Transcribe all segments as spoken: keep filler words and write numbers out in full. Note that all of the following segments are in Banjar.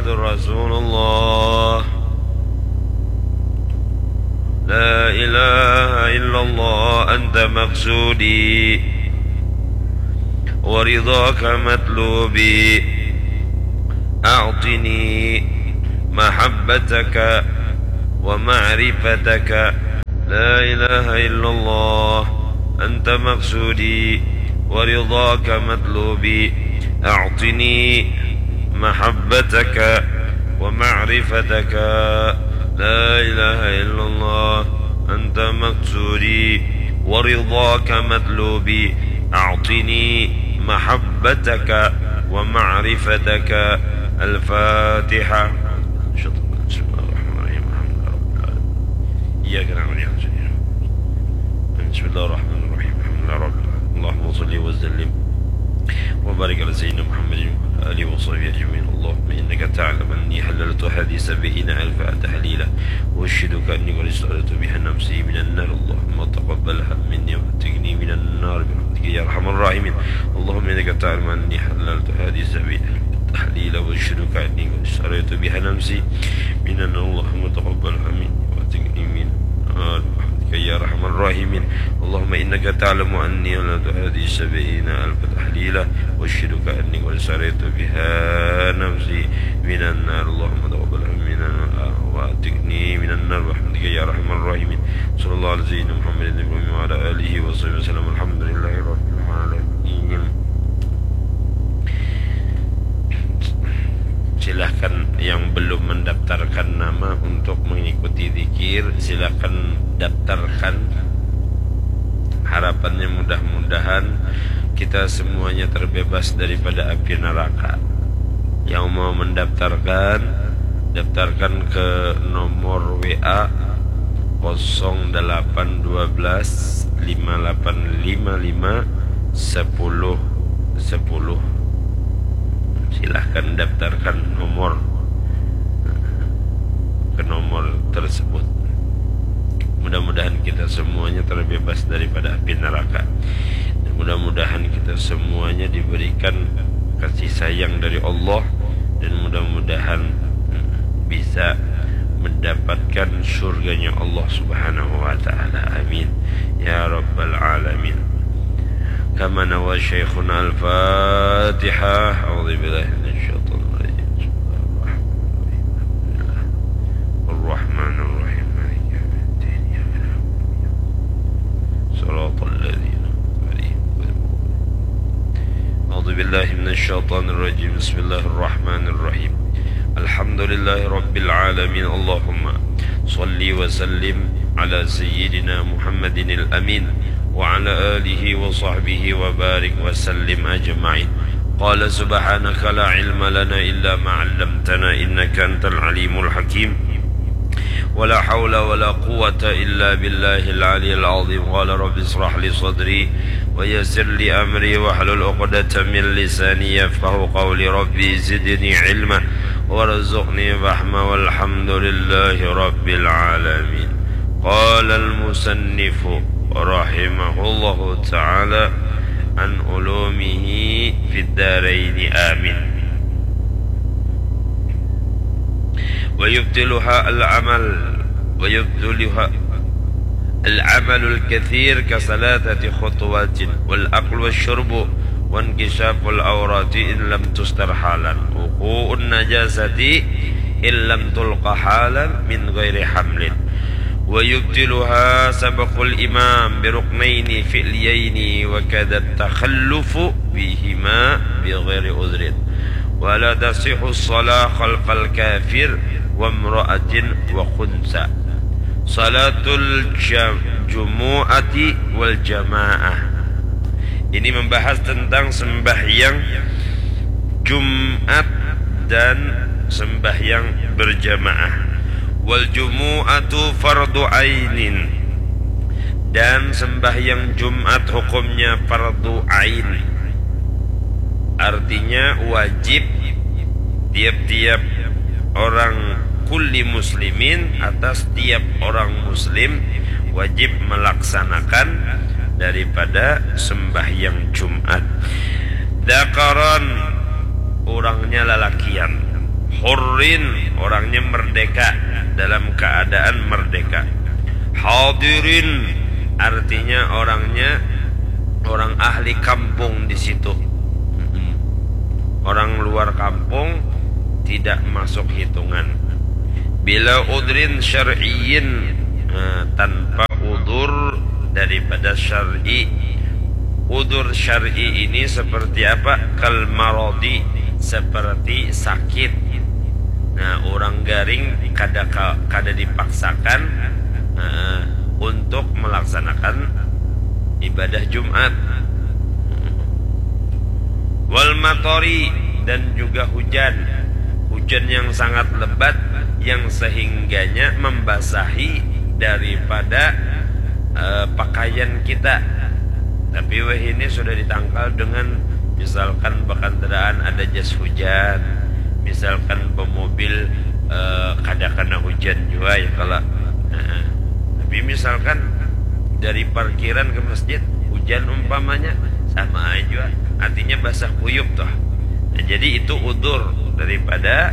رسول الله. لا إله إلا الله، أنت مقصودي ورضاك مطلوبي، أعطني محبتك ومعرفتك. لا إله إلا الله، أنت مقصودي ورضاك مطلوبي، أعطني محبتك ومعرفتك. لا إله إلا الله، أنت مقصودي ورضاك مطلوبي، أعطني محبتك ومعرفتك. الفاتحة. بسم الله الرحمن الرحيم. الحمد لله رب العالمين. إياك نعبد وإياك نستعين. بسم الله الرحمن الرحيم. الحمد لله رب العالمين. اللهم صل وسلم وبارك على سيدنا محمد وعلى آله وصحبه أجمعين. اللهم إنك تعلم أني حللت هذه السبعين ألف تحليلا، وأشهدك أني قد اشتريت بها نفسي من النار. اللهم تقبلها مني وأعتقني من النار برحمتك يا أرحم الراحمين. اللهم إنك تعلم أني حللت هذه السبعين ألف تحليلا، وأشهدك أني قد اشتريت بها نفسي من النار. اللهم تقبلها مني وأعتقني من النار برحمتك يا أرحم الراحمين. اللهم إنك تعلم أني حللت هذه السبعين ألف تحليلا، وأشهدك أني قد اشتريت بها نفسي من النار. اللهم تقبلها مني وأعتقني من النار برحمتك يا أرحم الراحمين. صلى الله على سيدنا محمد النبي الأمي وعلى آله وصحبه وسلم. الحمد لله رب العالمين. Silahkan yang belum mendaftarkan nama untuk mengikuti zikir, silahkan daftarkan. Harapannya mudah-mudahan kita semuanya terbebas daripada api neraka. Yang mau mendaftarkan, daftarkan ke nomor W A kosong delapan dua belas lima delapan lima lima sepuluh sepuluh. Silahkan daftarkan nomor ke nomor tersebut. Mudah-mudahan kita semuanya terbebas daripada api neraka. Dan mudah-mudahan kita semuanya diberikan kasih sayang dari Allah, dan mudah-mudahan bisa mendapatkan surganya Allah Subhanahu wa taala. Amin ya rabbal alamin. Kama nawa syaikhuna. Al-Fatihah. A'udzu billahi minasy syaithanir rajim. Bismillahirrahmanirrahim. Alhamdulillah. Arrahmanirrahim. Maliki yaumiddin. Iyyaka na'budu wa iyyaka nasta'in. Shiratal ladzina an'amta 'alaihim ghairil maghdubi 'alaihim waladdallin. A'udzu billahi minasy syaithanir rajim. Bismillahirrahmanirrahim. Alhamdulillahi rabbil alamin. Allahumma shalli wa sallim ala sayyidina Muhammadinil amin wa ala alihi wa sahbihi wa barik wa sallim ajma'in. Qala subhanaka la ilma lana illa ma 'allamtana innaka antal alimul hakim. ولا حول ولا قوة إلا بالله العلي العظيم. قال رب اشرح لي صدري ويسر لي أمري واحلل عقدة من لساني يفقهوا قولي. رب زدني علما وارزقني فهما والحمد لله رب العالمين. قال المصنف رحمه الله تعالى عن علومه في الدارين. آمين. ويبطلها العمل، ويبطلها العمل الكثير كثلاثة خطوات، والأكل والشرب وانكشاف العورات إن لم تستر حالا، وقوع النجاسة إن لم تلق حالا من غير حمل، ويبطلها سبق الإمام بركنين فعليين، وكذا التخلف بهما بغير عذر. ولا تصح الصلاة خلف الكافر وامرأة وخنثى. صلاة الجمعة والجماعة. Ini membahas tentang sembahyang Jumat dan sembahyang berjamaah. Wal jumu'atu fardu ainin. Dan sembahyang Jumat hukumnya fardu ain. Artinya wajib tiap-tiap orang, kulli muslimin, atas tiap orang muslim wajib melaksanakan daripada sembahyang Jumat. Dzakaran, urangnya lalakian. Hurrin, orangnya merdeka, dalam keadaan merdeka. Hadirin, artinya orangnya orang ahli kampung di situ. Mm-mm. Orang luar kampung tidak masuk hitungan. Bila udrin syar'iyyin, eh, tanpa udur daripada syar'i. Udur syar'i ini seperti apa? Kal maradi, seperti sakit. Nah, orang garing kada ka- kada dipaksakan, eh, untuk melaksanakan ibadah Jumat. Wal matori, dan juga hujan. Hujan yang sangat lebat, yang sehingganya membasahi daripada, eh, pakaian kita. Tapi wahini sudah ditangkal dengan, misalkan, bakandaraan ada jas hujan, misalkan, bamobil, eh, kada kena hujan jua, ya kalo. Nah, tapi misalkan dari parkiran ke masjid, hujan umpamanya, sama aja jua. Artinya basah kuyup toh. Nah, jadi itu udur daripada,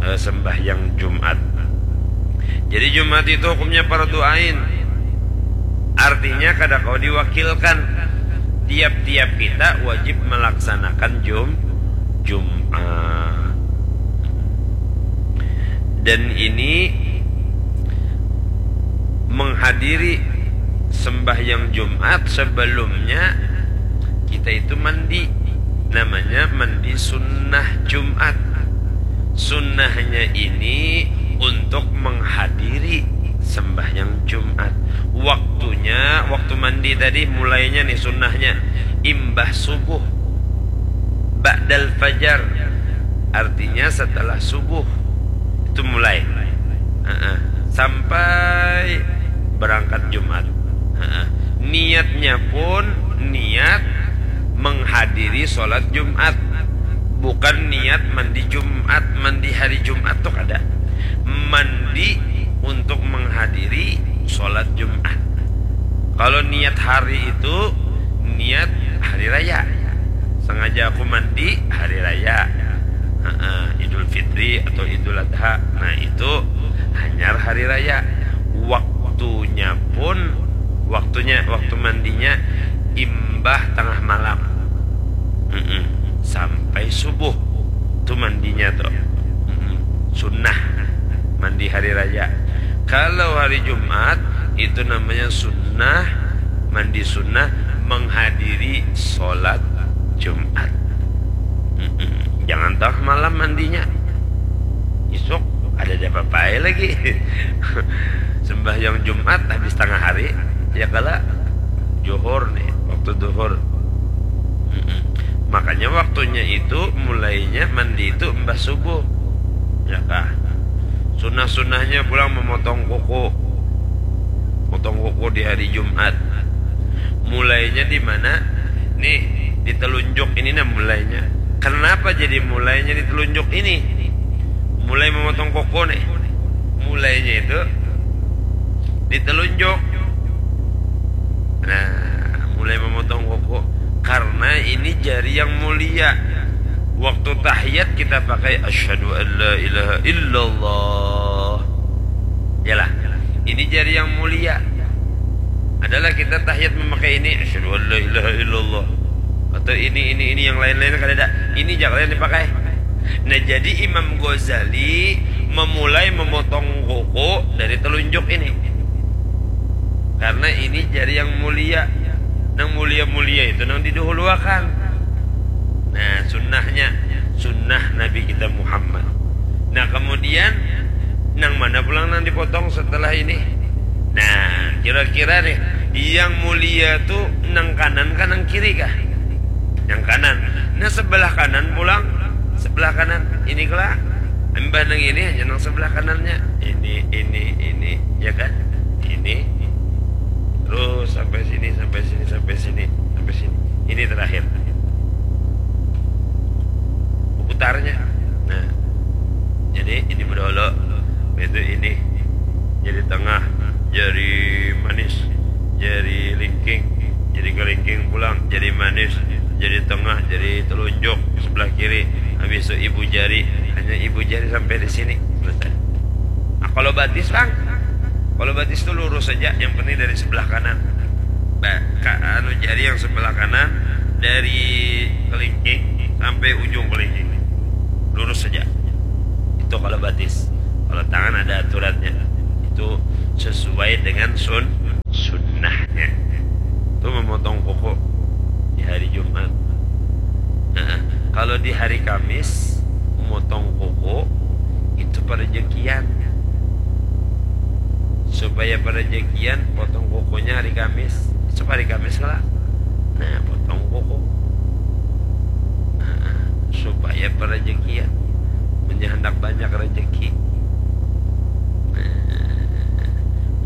eh, sembahyang Jumat. Jadi Jumat itu hukumnya fardu ain. Artinya kada kawa diwakilkan. Tiap-tiap kita wajib melaksanakan Jum Jumat. Dan ini menghadiri sembahyang Jumat, sebelumnya kita itu mandi. Namanya mandi sunnah Jumat. Sunnahnya ini untuk menghadiri sembahyang Jumat. Waktunya, waktu mandi tadi, mulainya nih sunnahnya imbah subuh, ba'dal fajar, artinya setelah subuh itu mulai. Heeh. Sampai berangkat Jumat. Heeh. Niatnya pun niat menghadiri sholat Jumat, bukan niat mandi Jumat, mandi hari Jumat tuh kada. Mandi untuk menghadiri sholat Jumat. Kalau niat hari itu niat hari raya. Sengaja aku mandi hari raya. Heeh, Idul Fitri atau Idul Adha. Nah, itu hanyar hari raya. Waktunya pun, waktunya, waktu mandinya imbah tengah malam. Mm-mm. Sampai subuh tu mandinya tu. Mm-mm. Sunnah mandi hari raya. Kalau hari Jumat, itu namanya sunnah, mandi sunnah menghadiri sholat Jumat. Mm-mm. Jangan tengah malam mandinya. Isuk ada apa lagi. Sembahyang Jumat habis tengah hari, ya kala, Johor nih, waktu duhur. Mm-mm. Makanya waktunya itu mulainya mandi itu embah subuh, ya kah? Sunnah-sunnahnya pulang memotong kuku, potong kuku di hari Jumat. Mulainya di mana? Nih, di telunjuk ini, nah, mulainya. Kenapa jadi mulainya di telunjuk ini? Mulai memotong kuku nih. Mulainya itu di telunjuk. Nah, mulai memotong kuku karena ini jari yang mulia. Waktu tahiyat kita pakai asyhadu an la ilaha illallah. Yalah, ini jari yang mulia. Adalah kita tahiyat memakai ini, asyhadu an la ilaha illallah. Atau ini, ini, ini, yang lain-lain kada ada. Ini jangan yang dipakai. Nah, jadi Imam Ghazali memulai memotong kuku dari telunjuk ini. Karena ini jari yang mulia. Nang mulia-mulia itu nang didahuluakan. Nah, sunnahnya, sunnah Nabi kita Muhammad. Nah, kemudian nang mana pulang nang dipotong setelah ini? Nah, kira-kira nih, yang mulia tu nang kanan kah, nang kiri kah? Yang kanan. Nah, sebelah kanan pulang, sebelah kanan. Ini kala, imbah nang ini hanya nang sebelah kanannya. Ini, ini, ini, ya kan? Ini. Terus sampai sini, sampai sini, sampai sini, sampai sini. Ini terakhir. Putarnya. Nah, jadi ini bedolo, itu ini, jadi tengah, jadi manis, jadi lingking, jadi kelingking pulang, jadi manis, jadi tengah, jadi telunjuk sebelah kiri. Habis itu ibu jari, hanya ibu jari sampai di sini, selesai. Nah, kalau batis, Bang, kalau batis itu lurus saja, yang penting dari sebelah kanan. Ba-, ka-, anu, jari yang sebelah kanan dari kelingking sampai ujung kelingking. Lurus saja. Itu kalau batis. Kalau tangan ada aturannya. Itu sesuai dengan sun-, sunnahnya. Itu memotong kuku di hari Jumat. Nah, kalau di hari Kamis, memotong kuku itu perejekian. Supaya perejekian, potong kukunya hari Kamis. Esok hari Kamis lah. Nah, potong kuku. Nah, supaya perejekian. Munnya handak banyak rejeki. Nah,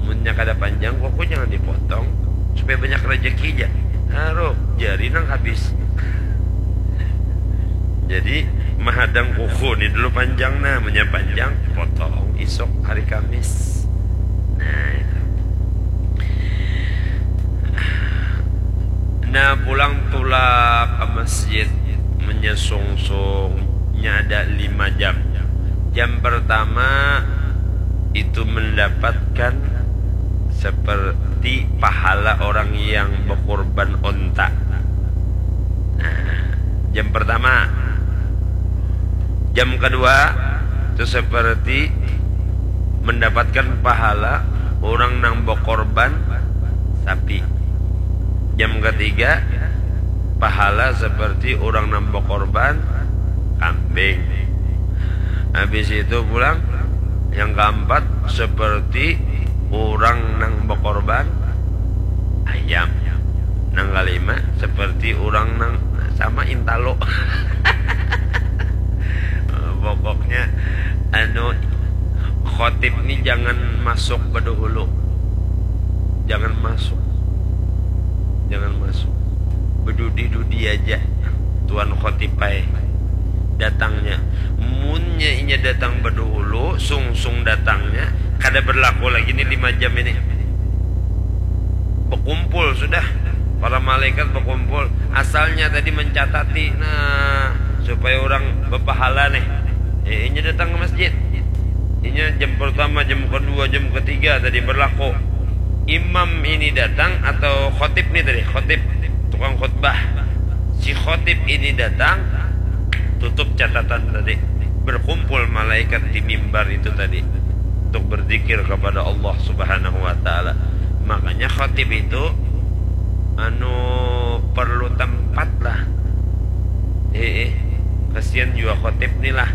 munnya kada panjang kuku, jangan dipotong. Supaya banyak rejeki ja. Aduh, jari nang habis. Jadi, mahadang kuku ni dulu panjang, nah, munnya panjang, potong isuk hari Kamis. Nah, itu. Nah, pulang tulak ke masjid, munnya sungsungnya ada lima jam. Jam pertama itu mendapatkan seperti pahala orang yang berkorban onta. Nah, jam pertama. Jam kedua itu seperti mendapatkan pahala orang nang berkorban sapi. Jam ketiga, pahala seperti orang nang berkorban kambing. Habis itu pulang, yang keempat, seperti orang nang berkorban ayam. Nang kelima, seperti orang nang sama intalo. Pokoknya, anu, khotib ni jangan masuk badahulu. Jangan masuk. Jangan masuk. Bedudi-dudi aja. Tuan khotib ai datangnya. Munnya inya datang badahulu, sungsung datangnya, kada berlaku lagi ni lima jam ini. Bekumpul sudah. Para malaikat bekumpul. Asalnya tadi mencatati, nah, supaya orang berpahala nih. Eh, inya datang ke masjid. Inya jam pertama, jam kedua, jam ketiga tadi berlaku. Imam ini datang atau khotib ni tadi, khotib, tukang khutbah. Si khotib ini datang, tutup catatan tadi. Berkumpul malaikat di mimbar itu tadi untuk berzikir kepada Allah Subhanahu wa taala. Makanya khotib itu, anu, perlu tempat lah. Eh, eh. Kasihan juga khotib ni lah.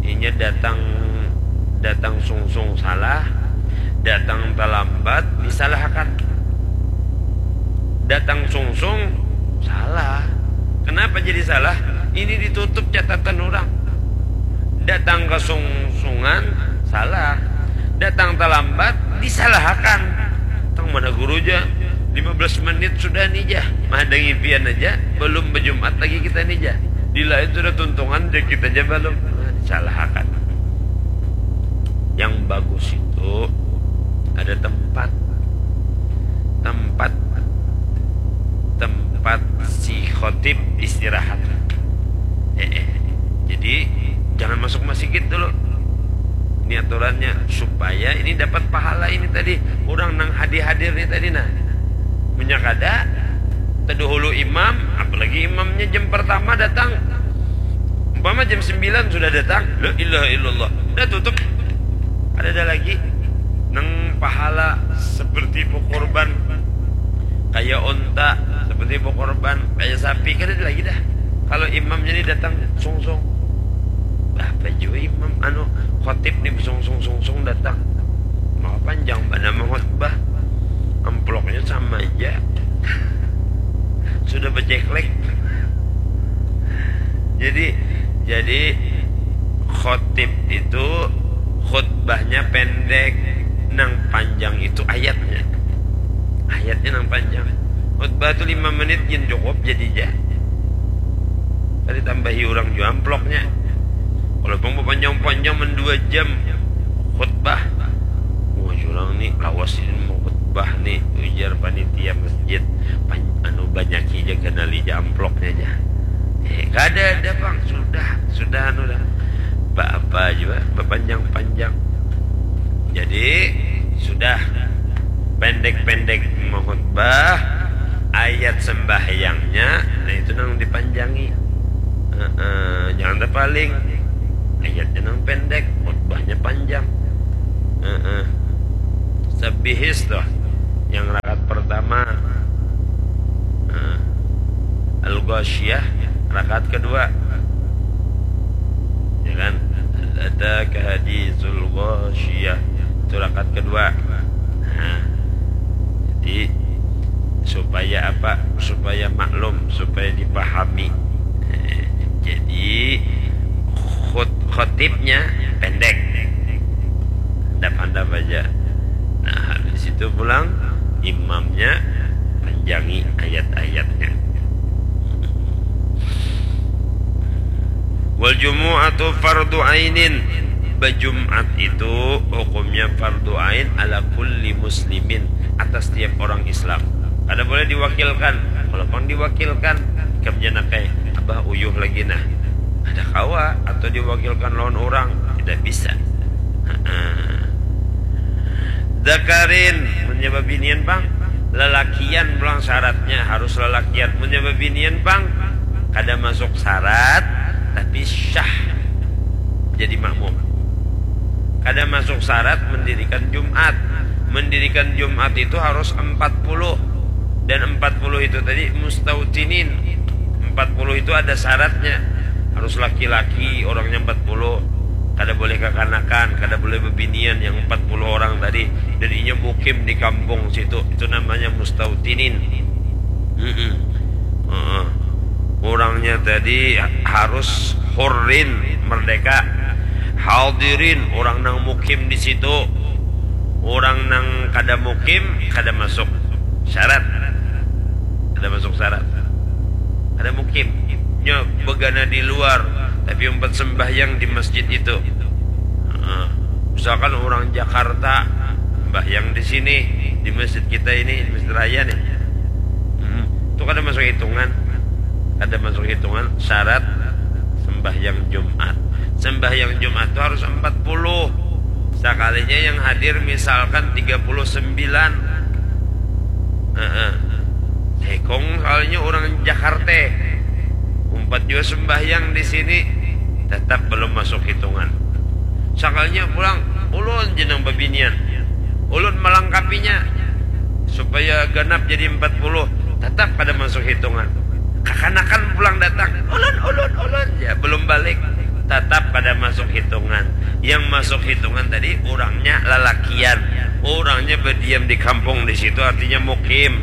Inya datang, datang sungsung salah, datang terlambat disalahkan. Datang sungsung salah. Kenapa jadi salah? Ini ditutup catatan orang. Datang kesungsungan salah. Datang terlambat disalahkan. Tang mana guru ja? Lima belas menit sudah nih ja. Mahadangi pian aja, belum berjumat lagi kita nih ja. Di lain sudah tuntungan ja, kita aja belum. Nah, disalahkan. Yang bagus itu ada tempat. Tempat, tempat si khotib istirahat. Eh, eh. Jadi, jangan masuk masjid dulu. Ini aturannya supaya ini dapat pahala ini tadi. Orang nang hadir-hadir ni tadi, nah. Munnya kada, terdahulu imam, apalagi imamnya jam pertama datang. Umpama jam sembilan sudah datang, la ilaha illallah. Udah tutup. Ada, ada lagi nang pahala seperti berkorban, kayak onta, seperti berkorban, kayak sapi, kada ada lagi dah. Kalau imamnya ni datang sungsung, apa jua imam, anu, khotib ni sungsung-sungsung datang, maka panjang banar mengkhotbah, amplopnya sama aja. Sudah beceklek. Jadi, jadi khotib itu khutbahnya pendek, nang panjang itu ayatnya. Ayatnya nang panjang. Khutbah tu lima menit gin cukup jadi ja. Kada tambahi orang jua amplopnya. Kalau pang panjang-panjang, mendua jam khutbah, wah, urang ni lawas ini mau khutbah ni, ujar panitia masjid. Pan-, anu, banyaki ja, ganali ja amplopnya ja. Eh, kada ada, Bang. Sudah, sudah anu dah. Apa-apa juga, berpanjang-panjang. Jadi, sudah pendek-pendek mengkhutbah, ayat sembahyangnya, nah itu nang dipanjangi. Heeh, jangan terpaling. Ayatnya nang pendek, khutbahnya panjang. Heeh. Sabihis tuh, yang rakaat pertama. Heeh. Al-Ghasyiyah, rakaat kedua. Ya kan? Hal ataka haditsul ghasyiyah. Itu rakaat kedua. Nah, jadi supaya apa? Supaya maklum, supaya dipahami. Jadi khot- khotibnya pendek. Handap-handap aja. Nah, habis itu pulang imamnya panjangi ayat-ayatnya. Wal jumu'atu fardu ainin. Bajumat itu hukumnya fardu ain ala kulli muslimin, atas tiap orang Islam. Kada boleh diwakilkan. Walaupun diwakilkan, ikam jangan kayak, "Abah uyuh lagi nah." Ada kawa atau diwakilkan lawan orang, tidak bisa. Heeh. Zakarin, mun nya babinian pang. Lalakian pulang syaratnya harus lalakian. Mun nya babinian pang, kada masuk syarat, tapi syah jadi makmum. Kada masuk syarat mendirikan Jumat. Mendirikan Jumat itu harus empat puluh. Dan empat puluh itu tadi mustautinin. Empat puluh itu ada syaratnya. Harus laki-laki, orangnya empat puluh. Kada boleh kakanakan, kada boleh bebinian yang empat puluh orang tadi. Dan inya mukim di kampung situ. Itu namanya mustautinin. Mm-mm. Heeh. Orangnya tadi harus hurrin, merdeka. Hadirin, orang nang mukim di situ. Orang nang kada mukim, kada masuk syarat. Kada masuk syarat. Kada mukim. Nya begana di luar, tapi umpat sembahyang di masjid itu. Heeh. Misalkan orang Jakarta sembahyang di sini, di masjid kita ini, di Masjid Raya nih. Hmm, itu kada masuk hitungan. Kada masuk hitungan syarat sembahyang Jumat. Sembahyang Jumat itu harus empat puluh. Sakalinya yang hadir misalkan tiga puluh sembilan. Heeh. Sekong soalnya orang Jakarta. Umpat juga sembahyang di sini, tetap belum masuk hitungan. Sakalinya pulang, ulun jenang babinian. Ulun melengkapinya supaya ganap jadi empat puluh, tetap kada masuk hitungan. Kakanakan pulang datang, "Ulun, ulun, ulun." Ya, belum balik. Tetap kada masuk hitungan. Yang masuk hitungan tadi orangnya lalakian. Orangnya berdiam di kampung di situ, artinya mukim.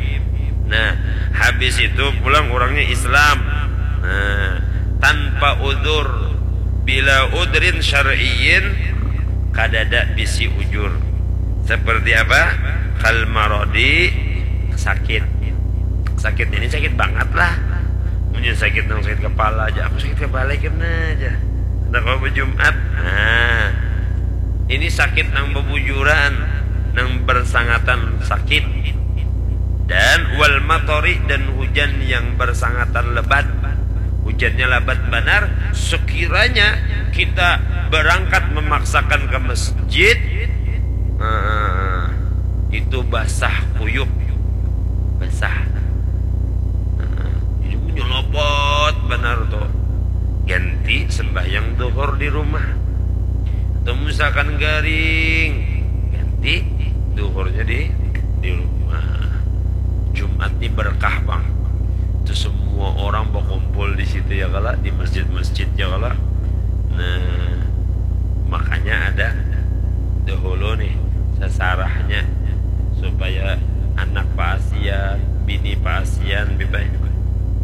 Nah, habis itu pulang orangnya Islam. Nah, tanpa udzur, bila udrin syar'iyyin, kadada bisi ujur. Seperti apa? Kal marodi, sakit. Sakit ini sakit bangat lah. Punya sakit nang sakit kepala aja, aku sakit kepala kena aja. Nah, kalau berjumat, nah, ini sakit nang bebujuran, nang bersangatan sakit. Dan wal matori, dan hujan yang bersangatan lebat. Hujannya lebat benar, sekiranya kita berangkat memaksakan ke masjid, nah, itu basah kuyup. Basah. Nah, jadi menyelopot benar tuh. Ganti sembahyang duhur di rumah. Atau misalkan garing, ganti duhurnya di di rumah. Jumat ini berkah, Bang. Itu semua orang berkumpul di situ, ya kala, di masjid-masjid, ya kala. Nah, makanya ada dahulu nih sasarahnya supaya anak paasian, bini paasian, bibai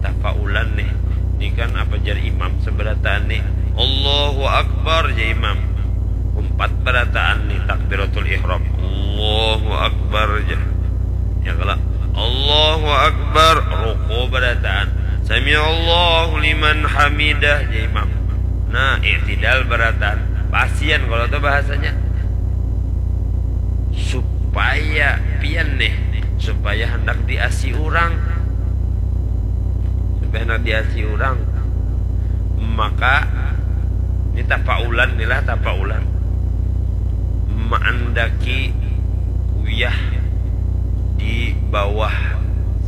tafaulan nih. Ini kan apa jar imam seberataan nih? Allahu Akbar, jar imam. Umpat berataan nih takbiratul ihram. Allahu Akbar, jar. Ya kala, Allahu Akbar, ruku berataan. Sami Allahu liman hamidah, jar imam. Nah, i'tidal berataan. Paasian kalau itu bahasanya. Supaya pian nih, supaya hendak diasi orang. Supaya hendak diasi orang. Maka ini tapaulan, inilah tapaulan, maandaki uyah di bawah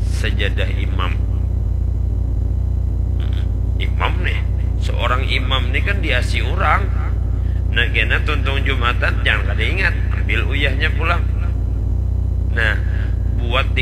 sajadah imam. Imam nih, seorang imam nih kan diasi orang. Nah, kena tuntung Jumatan, jangan kada ingat, ambil uyahnya pulang. Nah, buat